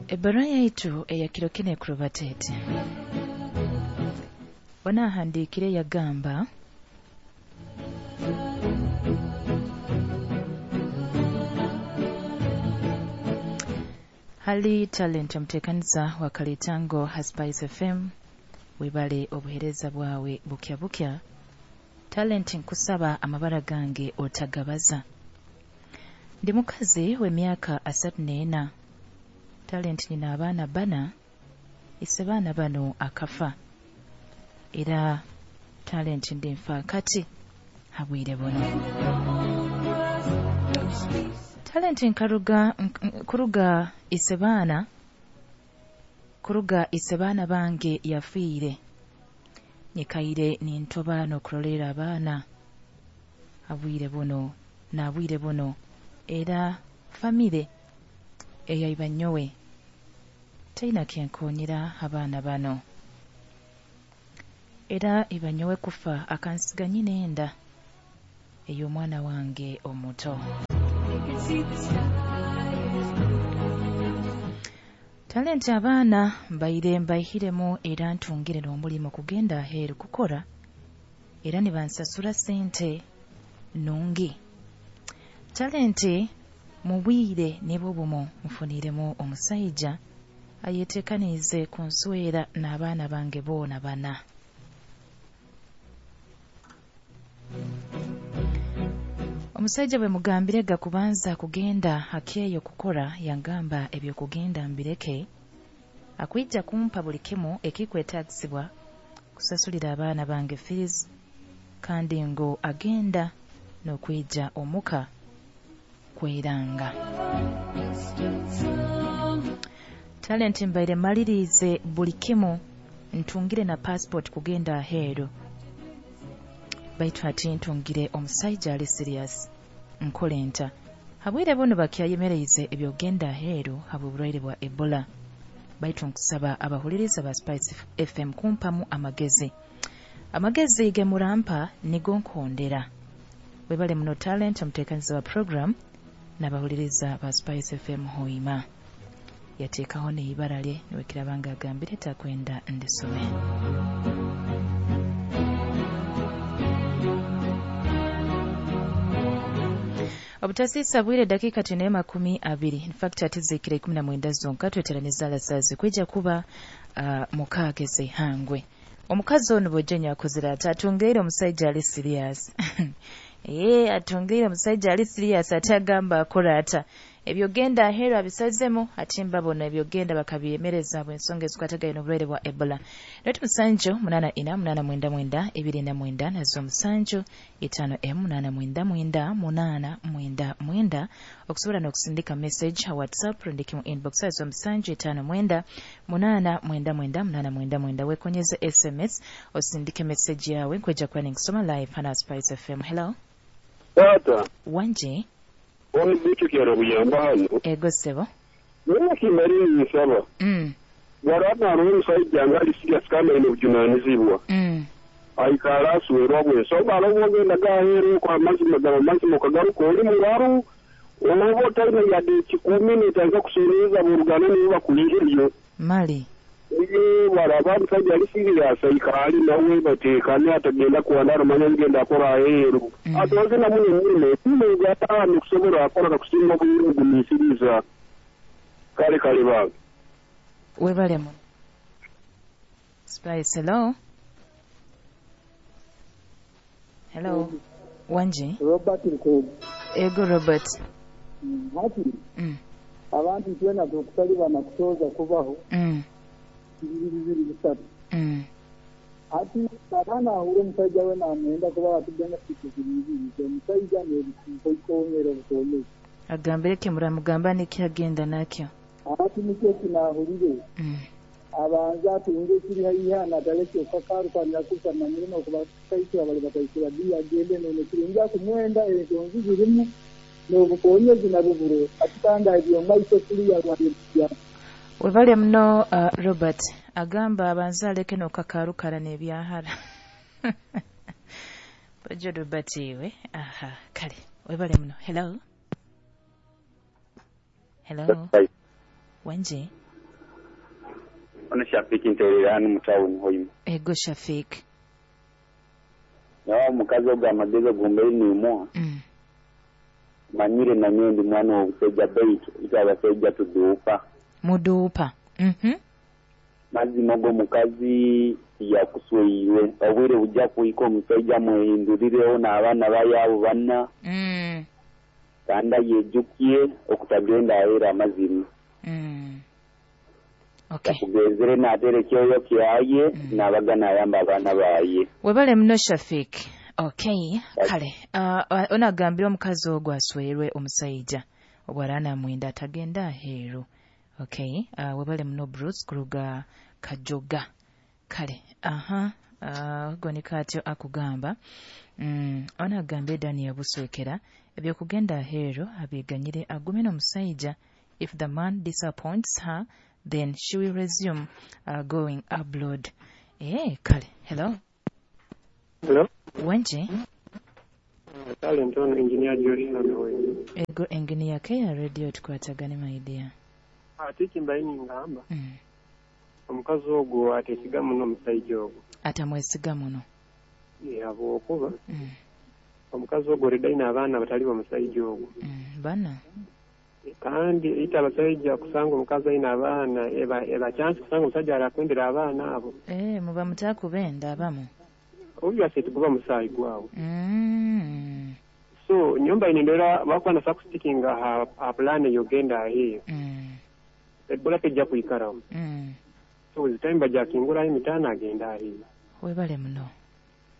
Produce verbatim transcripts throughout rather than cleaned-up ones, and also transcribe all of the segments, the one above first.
Ebbaruha yaitu eya kiro kinu ekurubata eti. Onahandiikire yagamba hali Talent omuteekaniza wa Kalitango ha Spice F M, webale obuheereza bwawe bukya bukya. Talent, nkusaba amabara gange otagabaza. Ndi mukazi w'emyaka asatu n'ena. Talent, nina abaana bana, ise baana bano akafa. Era Talent ndi nfaakati habwire buno. Talent, nkaruga kuruga ise baana kuruga ise baana bange yafiire. Nyikaire nintoba n'okurolera abaana habwire buno nabwire buno, era famire eyaiba nyowe teina kyenkonyera abaana bano. Era iba nyowe kufa akansiga nyina enda ey'omwana wange omuto. Talent, abaana mbaire mbaihiremu era ntungire n'omulimu kugenda aheeru kukora, era nibansasura sente nungi. Talent, mu bwire nibwo bumu nfuniremu omusaija ayeteekaniize kunswera n'abaana bange boona bana. Omusaija bwe mugambire gakubanza kugenda hakeeyo kukora, yangamba ebyokugenda mbireke, akwija kumpa buli kimu ekikwetaagisibwa kusasulira abaana bange fees, kandi ngu agenda n'okwija omuka kweranga. Talent, mbaire malirize buli kimu, ntungire na passport kugenda aheeru, baitu ati ntungire omusaija ali serious. Nkole nta? Habwire buno bakyayemereize ebyogenda aheeru habw'oburwaire bwa Ebola, baitu nkusaba abahuliriza ba Spice F M kumpamu amagezi. Amagezi ge murampa nigo nkondera. Webale muno Talent, omuteekaniza wa program n'abahuliriza ba Spice F M hoima. Yateekaho n'eibara lye niwekirabanga agambire takwenda ndisome. Obutasisa bwire dakika tine makumi abiri. In fact atizikire ikumi na mwenda zonka tweteraniza alasazi kwija kuba uh, mukageze hangwe. Omukazi ono bwejenya akozera ati atungeire omusajja ali serious. Eh, atungeire omusajja ali serious atagamba akora ata. Ebyogenda aheeru abisazemu atimba bona ebyogenda bakabyemereza bw'ensonga ezikwatagana n'obulwaire bwa Ebola. Letu musanju munana ina munana mwenda mwenda ibiri na mwenda nazo musanju itano emu munana mwenda mwenda munana mwenda mwenda. Okusobola n'okusindika message ha WhatsApp rundiki mu inbox azo musanju itano mwenda munana mwenda mwenda munana mwenda mwenda. Wekonyeze S M S osindike message yawe nkweja kwa ningisoma live hana Spice F M. Hello. Tata. Wanje. Wani bitu kyara buyamba hano. Ego sebo. Nina kimari nisaba. Mm. Waraba rumu saidi angali serious kama ino bujunanizibwa. Mm. Aikara suwerwa bwe. So balo wogenda gaheru kwa mazima gaba mazima kagaruka oli muraru. Obo taina yade kikumi nitaanza kusuruza burugano niba kulihiryo. Mali. Iye waraba msaidi ali serious aikali nawe batekane atagenda kuandara manya ngenda akora aheru. Mm. Atoze na mune mune mune gatano kusobora akora kusinga kugumisiriza. Kale kale ba. Webale mu. Spice, hello. Hello. Mm. Wanji. Robert Nkogo. Ego Robert. Mm. Hati. Mm. Abantu twena tukusaliba na kutoza kubaho. Mm. Bibiri bibiri bisatu. Mm. Ati abaana ahura omusajja we namwenda kuba batugenda kutukiriza omusajja n'ebikonyera obukomezi. Agambire ke muramugamba niki agenda nakyo. Ati nikyo kinahurire. Mm. Abanza atunge kiri haiha ataleke okakarukanira kusana mirimo kubakaisira bali bakaisira bi agende none kirungi kumwenda ensonzi zirimu n'obukonyezi nabuburo atutanga ebyo maiso kuli ya. Webale muno uh, Robert agamba abanza aleke n'okakarukara n'ebyahara. Bajo Robert iwe. Aha, kale. Webale muno. Hello. Hello. Wanje. Ono Shafiki nterera hano mu town Hoima. Ego Shafiki. Nawa omukazi ogwo amagezi ogumbaire nimuha. Mm. Manyire nanyowe ndi mwana w'obusajja baitu itwe abasajja tuduupa. Muduupa. Mhm. Mazima ogwo omukazi yakusweirwe obwire bujja kuhika omusajja amwehindurireho n'abaana bayaabo bana. Mm. Kandi ayejukiye okutagenda aheera amazima. Mm. Okay. Yakugenzere n'ateera ekyoyo kyaye Mm. n'abaga n'ayamba abaana baye. Webale muno Shafik. Okay, kale. Uh, onagambira omukazi ogwo aswerwe omusajja obwara mwenda atagenda aheeru. Okay, uh, webale muno Bruce kuruga Kajoga. Kale, aha, uh, gonika atyo akugamba. Mm, onagambye Daniel Buswekera ebyokugenda aheeru abiganyire agume n'omusajja. If the man disappoints her, then she will resume uh, going abroad. Eh, kale. Hello. Hello. Wenje. Talent ono engineer Joshua Nowe. Ego engineer ke ya radio tukwatagane my dear. Ate kimbaini ngamba. Mm. Omukazi ogwo atesiga muno omusajja ogwo. Atamwesiga muno. Yabo okuba. Mm. Omukazi ogwo already abaana batali omusajja ogwo. Mm. Bana. Kandi ita abasajja kusanga omukazi alina abaana eba eba chance kusanga omusajja arakwendera abaana abo. Eh, muba mutakubenda abamu. Obviously tukuba musaayi gwawe. Mm. So nyumba inendera bakwana sakustickinga ha, ha plan yogenda aheyo. Mm. Ebola kejja kuikarawo. Mm. So with time bajakingura emitana agenda aheyo. Webale muno.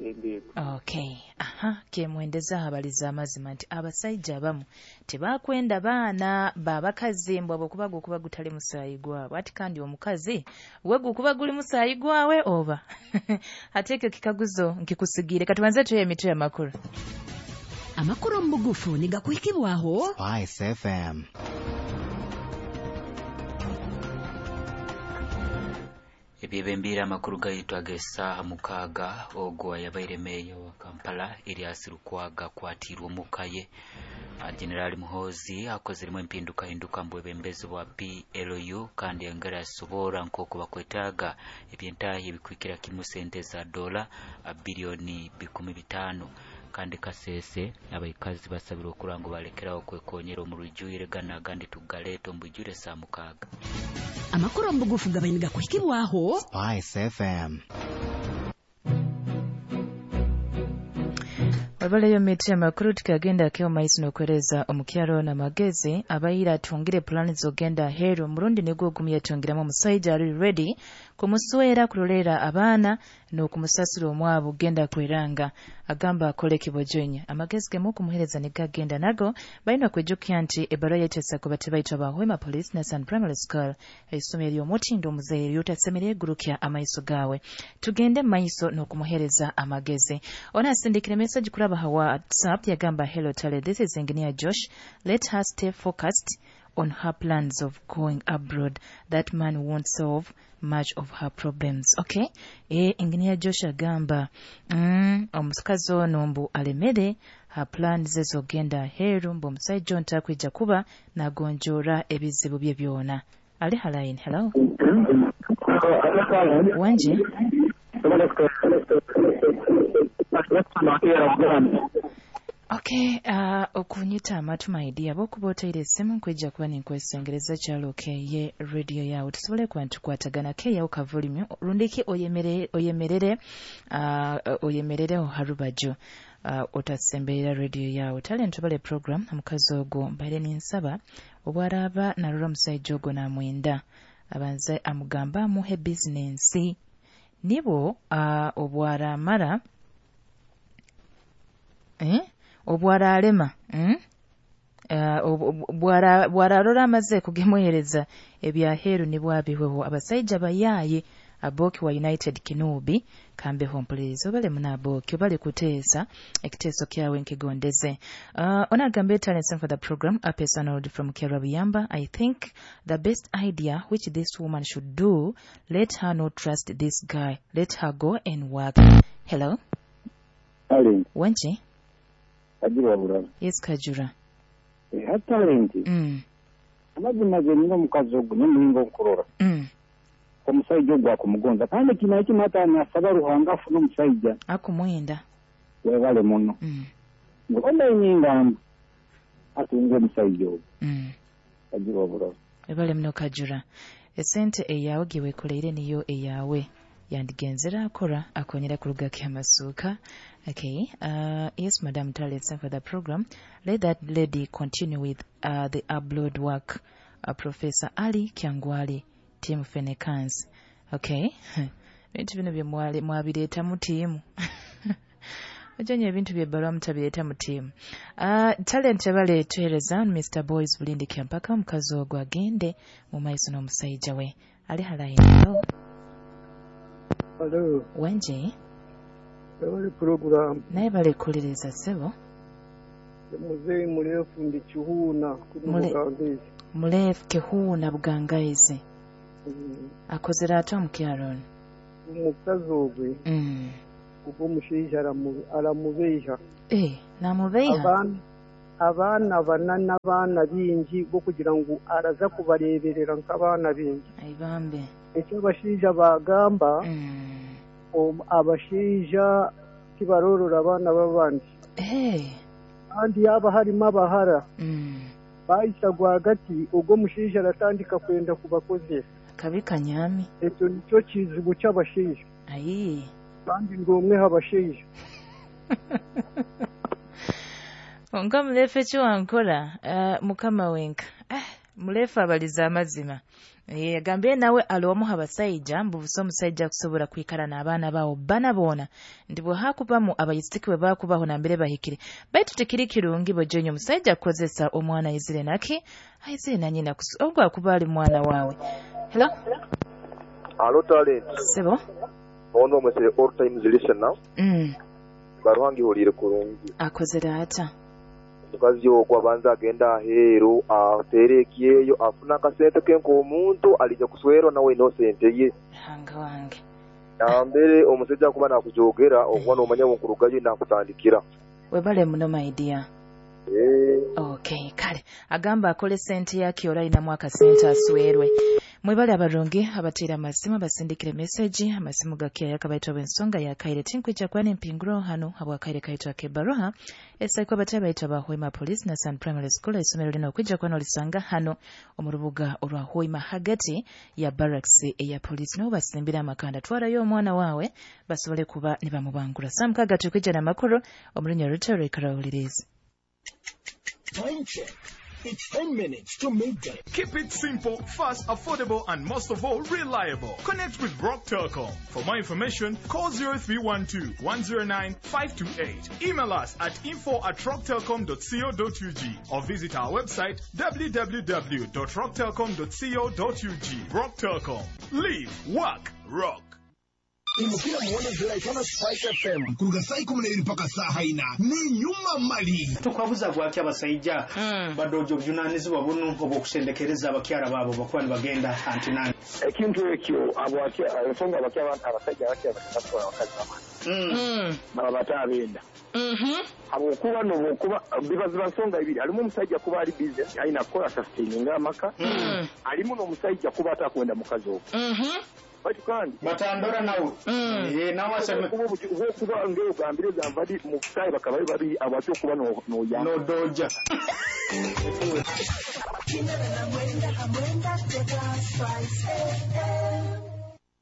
Ebego. Okay. Aha, kemwendeza habaliza amazima nti abasajja abamu tebakwenda baana babakazi mbwa bwokuba gukuba gutali musaayi gwabwe ati kandi omukazi we gukuba guli musaayi gwawe oba ate ekyo kikaguzo nkikusigiire. Katubanze tuye emitwe y'amakulu. Amakulu mu bugufu nigakuhikibwaho Spice F M. Ebyebembira amakulu gaitu ag'essaaha mukaaga ogwo ayabaire meeya wa Kampala Erias Lukwago akwatirwe omuka ye. General Muhoozi akozeremu empindukahinduka mu bwebembezi bwa P L U kandi yongera asoboora nk'oku bakwetaaga ebyentaahi ebikwikira kimu sente za dola biliyoni bikumi bitaano. Kandi Kasese abaikazi basabirwa okura ngu balekerawo okwekonyera omu rujwire gana agandi tugaleeta omu bujwire saa mukaaga. Amakuru mu bugufu gabaine gakuhikibwaho Spice F M. Wabaleyo miti amakuru tukagenda keo maiso n'okwereza omukyalo n'amagezi abayira atungire plani zogenda aheeru murundi nigwo ogumye atungiramu omusajja ali ready kumuswera kulolera abaana n'okumusasula omwabo genda kweranga agamba akole kibojonya. Amagezi gemu okumuhereza nigagenda nago balina okwijukya nti ebbaluwa yetesa ku batebaitwa ba Hoima Police na San Primary School eisomero ly'omutindo omuzeeyi ly'otasemere egurukya amaiso gaawe. Tugende maiso n'okumuhereza amagezi. Ono asindikire message kuraba ha WhatsApp yagamba hello Tale, this is Engineer Josh. Let her stay focused on her plans of going abroad. That man won't solve much of her problems. Okay? E, Engineer Josh agamba mm, omukazi ono mbu alemere her plans zogenda aheeru mbu omusajja ono takwija kuba nagonjoora ebizibu bye byona. Ali halaini. Hello. Wanje. Okay, uh, okunyita amatu my dear bokuba oteire essimu nkwejja kuba ninkwesengereza kyalo ye radio yawe tusobole kuba ntukwatagana keyawo kavulimu rundiki oyemere oyemerere uh, oyemerereho harubaju uh, otasemberera radio yawe. Talent bale program omukazi ogwo mbaire ninsaba obwaraba narora omusajja ogwo namwenda abanze amugamba amuhe bizinensi nibo uh, obwaramara eh obwaralema mm? Uh, bwara bwararora amaze kugemuhereza ebyaheru nibwabihweho abasajja bayaye aboki wa United Kinubi kambe hompulirizo bale munaboki bale kuteesa ekiteeso kyawe nkigondeze. Uh, onagambe talents for the program Apes Arnold from Kerabiyamba. I think the best idea which this woman should do, let her not trust this guy, let her go and work. Hello. Talent. Wenji. Kajura bulala. Yes, Kajura. Eh, talent. Mm. Amazima ge nina omukazi ogwo n'omulingo nkurora. Mm. Omusajja ogwo akumugonza kandi kino ekimu ata nasaba Ruhanga afune omusajja akumwenda webale muno. Mm. Ngomba enyingamba atunga omusajja ogwo. Mm. Agira oburozi. Webale muno Kajura. Esente eyawe giwekoleire niyo eyawe yandigenzera akora akonyera kuruga kyamasuka. Okay. Uh, yes, Madam Talent, for the program. Let that lady continue with uh, the upload work. Uh, Professor Ali Kyangwali, Team Fenekans. Okay. Bintu bino bye mwali mwabireeta mu tiimu. Ojanyo ebintu bye bbalwa mutabireeta mu tiimu. Uh, talent ebale tuhereza Mister Boys Bulindi Kyampaka omukazi ogwo agende mu maiso n'omusajja we. Ali halayo. Hello. Wenje. Ebale program. Naye bale kuliriza ssebo. Muzeeyi muleefu ndi Kihuuna Mule, muleefu Kihuuna Bugangaizi. Mm. Akozera atya omukyalo ono? Omukazi ogwe. Mm. Ogwo omushaija aramubeiha. Eh, namubeiha? Abaana abaana bana n'abaana bingi bokugira ngu araza kubareeberera nk'abaana bingi. Aibambe. Ekyo abashaija bagamba. Mm. Um, abashaija tibarorora abaana b'abandi. Eh. Kandi yaba harimu abahara. Mm. Baisa rwagati ogwo omushaija aratandika kwenda kubakozesa. Kabi kanyami. Ekyo nikyo kizibu ky'abashaija. Ayi. Kandi ndi omwe abashaija. Onga muleefu ekyo wankora uh, mukama wenka. Ah, muleefu abaliza amazima. Yagambye nawe alomu abasajja mbuvuso omusajja kusobola kwikara n'abaana bawo bana boona ndi bwe hakubamu abayisiki bwe bakubaho nambere bahikire baitu tekiri kirungi bojenyo omusajja kukozesa omwana ayizire naki ayizire na nyina ogwo akuba ali mwana wawe. Hello. Hello Talent. Sebo. Ono mwese all times listener. Mm. Baruhangi hulire kurungi. Akozera ata. Omukazi ogwo abanza agenda aheeru ateere ekyeyo afuna akasente ke nk'omuntu alija kuswerwa nawe ino sente ye. Hanga wange. Nambere omusajja akuba nakujogera okuba n'omanya nkurugayo nakutandikira. Webale muno my dear. Eh. Okay, kale agamba akole sente yake oralinamu akasente aswerwe. Mwebale abarungi abatera amasimu abasindikire message amasimu gakia yakabaitwa bensonga yakaire tinkwijja kwana empinguro hano habwakaire kaitwa kebaroha esaiko abatera baitwa ba Hoima Police na Sun Primary School isomero lino okwijja kwana olisanga hano omurubuga olwa Hoima hagati ya barracks eya police no basimbira amakanda twarayo omwana wawe basobole kuba ne bamubangura samkaga tukwijja namakuru omurunya rutero ikarawuliriza. Time check. It's ten minutes to midday. Keep it simple, fast, affordable, and most of all, reliable. Connect with Rock Telcom. For more information, call zero three one two, one zero nine, five two eight. Email us at info at rocktelcom dot co dot U G or visit our website w w w dot rocktelcom dot co dot U G. Rock Telcom. Live, work, rock. Imukira muone ziraitana Spice F M kuruga saa ikumi na ibiri mpaka saa haina ni nyuma mali tukwabuza gwaki abasajja mm. badojo obuvunanyizibwa buno obw'okusendekereza abakyala baabo bakuba nibagenda antinani ekintu ekyo ensonga abasajja abakyala batwala abakazi bamani baba batabenda habwokuba nobwokuba biba ziba nsonga ibiri halimu omusajja kuba ali busy alina kukola sustaininga amaka halimu n'omusajja kuba atakwenda mukazi ogwo bati kandi batandora nawe eh nawe aseme kuba ngeo gambire zamvadi mukusayi bakaba bari abatyo kuba no no ya no doja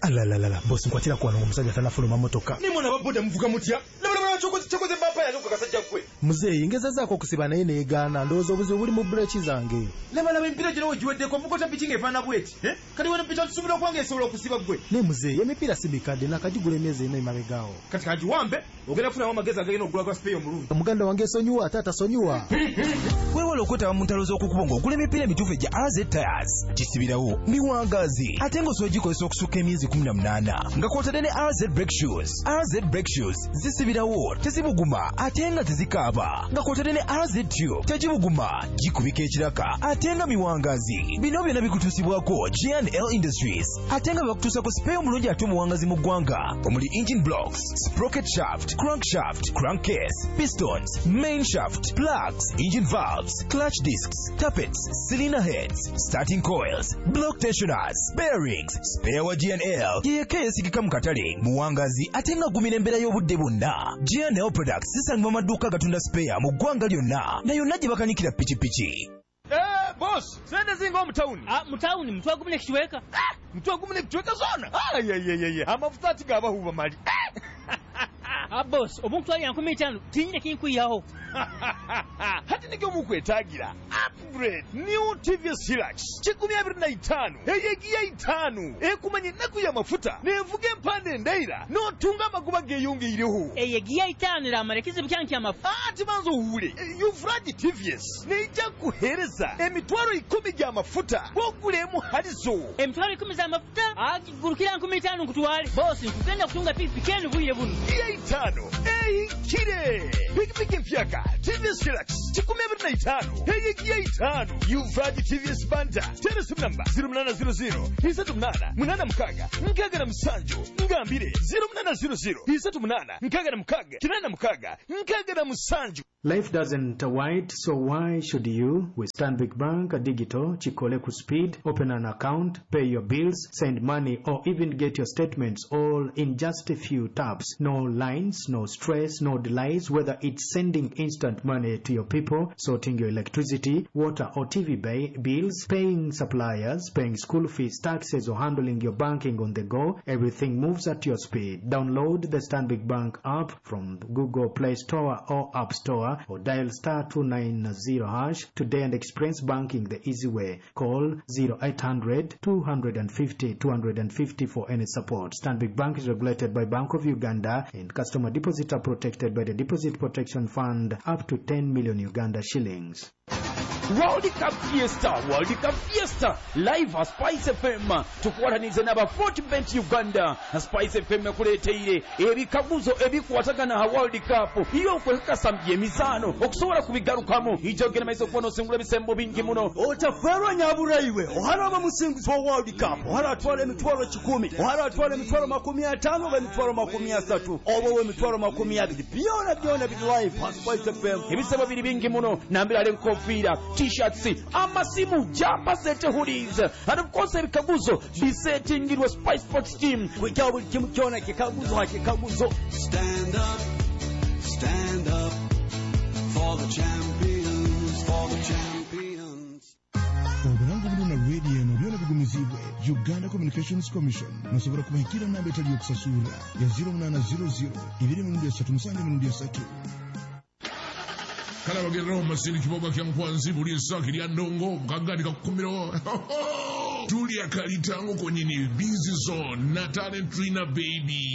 Alalalala bosi nkwatira kwa omusajja tanafuluma motoka nimona baboda muvuga mutya chokoze chokoze bapa yanuka kasajja kwe muzeeyi ngezezaako okusiba naye neegaana ndowooza obuzibu buli mu bureeki zange laba laba emipiira gino wegiweddeko mukota piki ng'efaanana bweti kati wano piki tusobola okuba ng'esobola okusiba ggwe naye muzeeyi emipiira si mikadde nakagigula emyezi ena emabegaawo kati kangiwambe ogenda kufunamu amagezi agagenda okugula gwa sipeeyo omulungi muganda wange esonyiwa ate atasonyiwa weewale okwetaba mu ntalo z'okukubo ng'ogula emipiira emituufu egya R Z Tires gisibirawo miwangaazi ate ng'osobola gikozesa okusukka emyezi kumi na munaana nga kw'otadde ne R Z Brake Shoes. R Z Brake Shoes zisibirawo tezibuguma ate nga tezikaaba. n'okunaaba nga kwotadde ne R Z Tube tegibuguma, gikubika ekiraka ate nga miwangazi. Bino byonna bikutuusibwako G and L Industries, ate nga bakutuusako spare omulungi ate omuwangazi mu ggwanga, omuli engine blocks, sprocket shaft, crankshaft, crankcase, pistons, main shaft, plugs, engine valves, clutch discs, tappets, cylinder heads, starting coils, block tensioners, bearings. Spare wa G and L yeyeka eyesigika mu katale, muwangazi ate nga agumira embeera y'obudde bwonna. G and L Products zisangibwa mu maduuka agatunda spare mu ggwanga lyonna na yonna gye bakanikira pikipiki. Eh, boss, sente zinga omu tawuni. Ah, mu tawuni mutwe gumu n'ekicweka. Mutwe gumu n'ekicweka zona. Ayayayaya, amafuta ati gabahuba mali. Ah, boss, obunkutwalira nkumi itaano tinyine kinkwihaho. Hati nikyo mukwetagira upgrade new T V S Hilux kikumi abiri na itaano eyegiya itaano ekumanya ennaku y'amafuta nevuga empanda endaira n'otunga amagoba geeyongeireho. Eyegiya itaano eramara ekizibu kyange ky'amafuta. Ati banza owuule, Yuvraj T V S neija kuheereza emitwalo ikumi gy'amafuta bwogula halizo. Emitwalo ikumi z'amafuta agigurukira nkumi itaano nkutwale. Boss, nkugenda kutunga pikipiki eno bwire buno. Giya itaano ehikire, pikipiki empyaka T V S Hilux kikumi abiri na itaano eyegiya itaano. Yuvraj T V S Banda, tera esimu namba zero munaana zero zero isatu munaana munaana mukaaga nkaaga na musanju. Ngambire zero munaana zero zero isatu munaana nkaaga na mukaaga kinaana mukaaga nkaaga na musanju. Life doesn't wait, so why should you? With Stanbic Bank Digital, Chikole ku speed, open an account, pay your bills, send money, or even get your statements all in just a few taps. No lines, no stress, no delays, whether it's sending instant money to your people, sorting your electricity, water, or T V ba- bills, paying suppliers, paying school fees, taxes, or handling your banking on the go, everything moves at your speed. Download the Stanbic Bank app from Google Play Store or App Store or dial star two nine zero hash today and experience banking the easy way. Call zero eight hundred two fifty two fifty for any support. Stanbic Bank is regulated by Bank of Uganda and customer deposits are protected by the Deposit Protection Fund up to ten million Uganda shillings. World Cup Fiesta, World Cup Fiesta live a Spice F M, tukwatanize n'aba Fortbet Uganda. Spice F M ekuleeteire ebikaguzo ebikwatagana ha World Cup, iyo okwekakasa emizaano okusobola kubigarukamu ijja ogenda maiso okuba n'osingula ebisembo bingi muno. Otaferwa nyaburaiwe, oharaba musinguzi wa World Cup ohara atwala emitwalo kikumi, ohara atwala emitwalo makumi ataano oba emitwalo makumi asatu oba owa emitwalo makumi abiri, byona byona biri live ha Spice F M. Ebisebo biri bingi muno, nambirala enkofiira, T-shirts, amasimu, jumpers, sete, hoodies, and of course ebikaguzo bisetingirwa Spice Sports Team. Kwekyawo buli kimu kyona kikaguzo ha kikaguzo. Stand up, stand up for the champions, for the champions. Obulango buno na rediyo eno byona bigumizibwe Uganda Communications Commission. Nosobola kubahikira namba etali yokusasura ya zero munaana zero zero ibiri emirundi esatu musanju emirundi esatu. Kale abagereraho masindi kiboga kya nkwanzi buli esaki lya ndongo kagandi kakukumiro tulya kalitango kwenyini busy zone na talent trina baby.